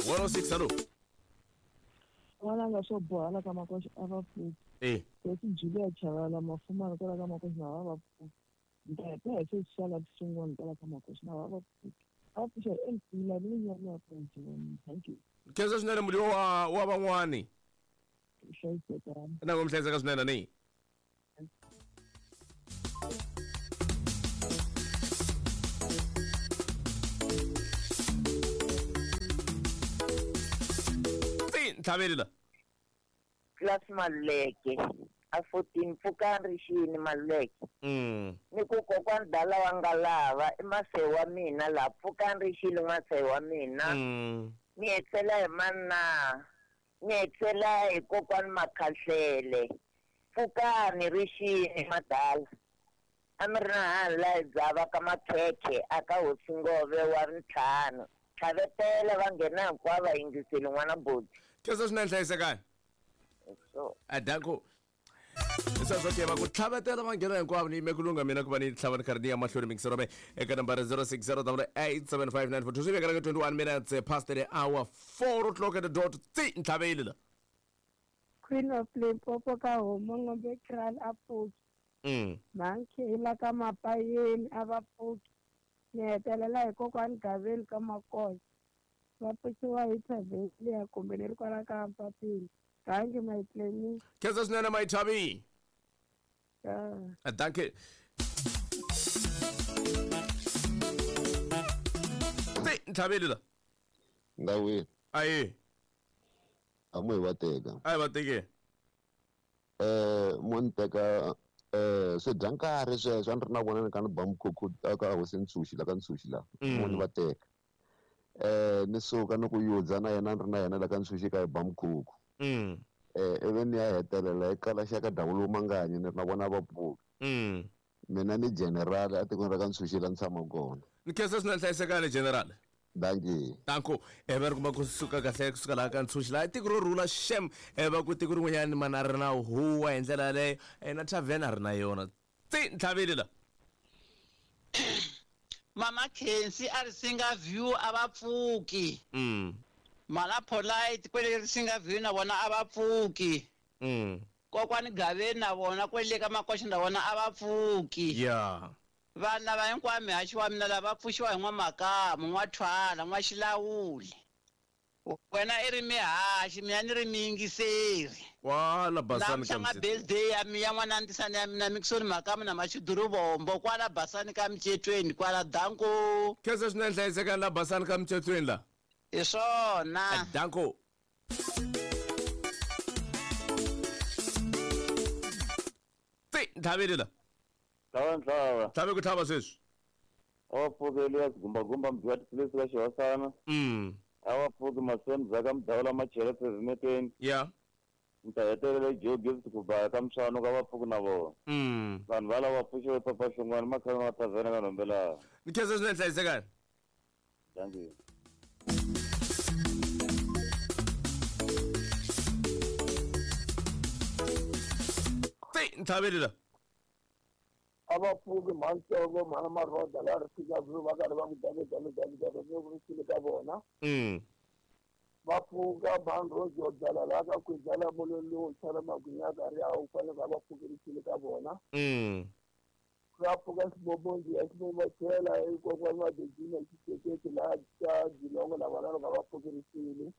106 hallo. N'wananga swo boha la ka makoxa a va pfuki. Eh. Hosi Julia Chavala mafumana kwala ka makoxa na va va pfuki. Ntate hi se sala swin'wana kwala ka makoxa na va va pfuki. A va pfuxa hi MC la ni nyama ya ku. Thank you. Khensa swinene muli wa van'wani. Hlayisekani. Na ku mi hlayiseka swinene ni. Ti ntlhaveli la. Class Maluleke a 14 pfukani rixini Maluleke. Ni ku kokwani dala wa nga lava i masehi wa mina la pfukani rixini masehi wa mina. Ni hetela hi manna ni hetela hi kokwani Makhahlele pfukani rixini madala a mi ri na hani la hi dzava ka makhekhe a ka hosi Ngove wa ntlhanu tlhavetela va nghena hinkwavo va yingiseli n'wana boti. Khensa swinene hlayisekani. So Adanko. Sweswo ke va ku tlhavetela va nghena hinkwavo ni yime ku lungha mina ku va ni tlhava ni karhi ni ya mahlweni mingisero me eka nambara 0608875942 swi vekela ka 21 minutes past the hour 4 o'clock at the dot tsi ntlhaveli la. Queen of Limpopo ka homo ngombe kral a pfuki. Mankhela ka mapayeni a va pfuki. Ni hetelela hi kokwani Gaveni ka Makosa. Va pfuxiwa hi Thavelia kumbe ni ri kwala ka Mpapeni. Thank you my plani. Khensa swinene Mayithavi. Dankie. Ti ntlhaveli la. Ndawini. Ayi. A mu hi va teka. A hi va teke. Mo ni teka swi dya nkarhi sweswo a ni ri na vona ni ka ni ba mukhukhu ka hosi Ntshuxi la ka Ntshuxi la. Mo ni va teka. Ni suka ni ku yudza na yena ni ri na yena la ka Ntshuxi ka hi ba mukhukhu. Ivi ni ya hetelela hi kala xa ka Dawulo Manganyi ni ri na vona va pfuka. Mina ni general a tikweni ra ka Ntshuxi la ni tshama kona. Ni khensa swinene hlayisekani general. Dankie. Danko va ri kuma kusuka kahle kusuka laha ka Ntshuxi laha tiko ro rhula shem va ku tiko rin'wanyani mana ri na huwa hi ndlela yaleyo na tavern a ri na yona tsi ntlhaveli la. Mama Khensi a ri singa view a va pfuki. Mala Polite kwele ri singa view na vona a va pfuki. Kokwani Gaveni na vona kwele ka Makoxa na vona a va pfuki. Vanhu lava hinkwavo mihaxi wa mina lava pfuxiwa hi n'wamakamu n'wathwala n'waxilawuli. Wena i ri mihaxi mina ni ri miyingiseri. Kwala Basani ka Mcetweni. Birthday ya mi ya n'wana ntisani ya mina Mixon Makamu na Machiduru Bombo kwala Basani ka Mcetweni kwala danko. Khensa swinene hlayisekani la Basani ka Mcetweni la. Hi swona. Danko. Ti ntlhaveli la. Tlhava ntlhava. Tlhave ku tlhava sweswi. A va pfuki Elias Gumbagumba mudyiwa tiphilisi ka xihosana. A va pfuki Maseni Dzaka Mudawula Machele Phezimeteni. Ni ta hetelela Joe Gift ku baya ka Mswano ka va pfuki na vona. Vanhu va lava pfuxiwe Papa Xingwana makhale ma tavhena ka Nhombelani. Ni khensa swinene hlayisekani. Thank you. Ti ntlhaveli la. A va pfuki mhantsongo mhana Maroda la ri fika va karhi va ku dale dale dale dale ni ku ri ka vona. Va pfuka mhani Rojo dlala la ka ku dlala mololo tshala magwinya ka ri a wu fanele va va pfukerisile ka vona. Va pfuka xibobonzi ya xibobo chela kokwani va Dejina xiseketi la ka Jilongo na vona va va pfukerisile.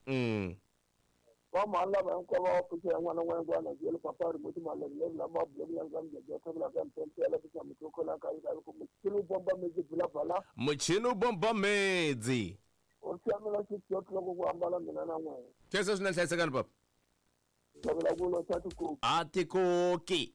Va mhani lava hinkwavo va pfuxela n'wana n'wana n'wana jele papa ri muti malembe lama bloku ya ndzam ya thabela ka mpempela ku tshama ku khola ka ka ku muchini bomba medzi bula bala. Muchini bomba medzi. O siamela xi loko ku ambala mina na n'wina. Khensa swinene hlayisekani papa. Thabela ku lo tshati ku. A tikoki.